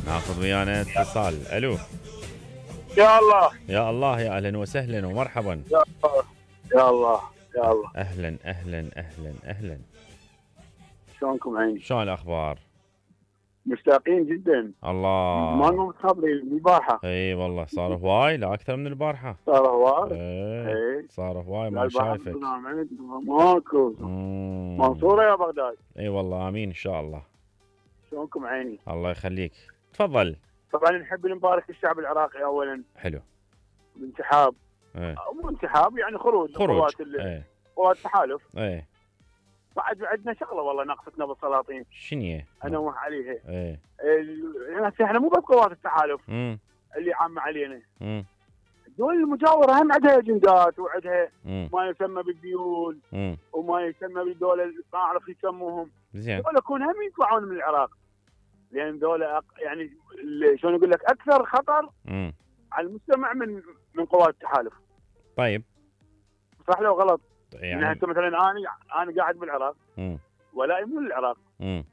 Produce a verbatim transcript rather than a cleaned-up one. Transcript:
ناخذ ويانا اتصال. الو. يا الله يا الله، يا اهلا وسهلا ومرحبا. يا الله يا الله يا الله. اهلا اهلا اهلا اهلا. شلونكم عيني؟ شلون الاخبار؟ مشتاقين جدا. الله. ما لنا متخابرين البارحه. اي والله صار هواي، لا اكثر من البارحه. صار هواي. اي اي صار هواي، لا ما البارحه شايفك. ماكو. مم. منصوره يا بغداد. اي والله امين ان شاء الله. شلونكم عيني؟ الله يخليك. تفضل. طبعا نحب نبارك الشعب العراقي اولا حلو. بانسحاب. ايه. مو انسحاب يعني خروج خروج. قوات ايه. قوات التحالف. ايه. بعد عندنا شغله والله ناقصتنا بالسلاطين. شنو؟ انوه عليها. ايه. ال- احنا مو بس قوات التحالف امم اللي عامه علينا. امم الدول المجاوره هم عندها اجندات وعندها امم ما يسمى بالديول امم وما يسمى بالدول اللي ما اعرف يسموهم. زين. دول يكون هم يطلعون من العراق لان دول أق... يعني ال- شلون اقول لك اكثر خطر امم على المجتمع من من قوات التحالف. طيب. صح لو غلط؟ يعني يعني هسه مثلا انا انا قاعد بالعراق امم ولا مو للعراق. امم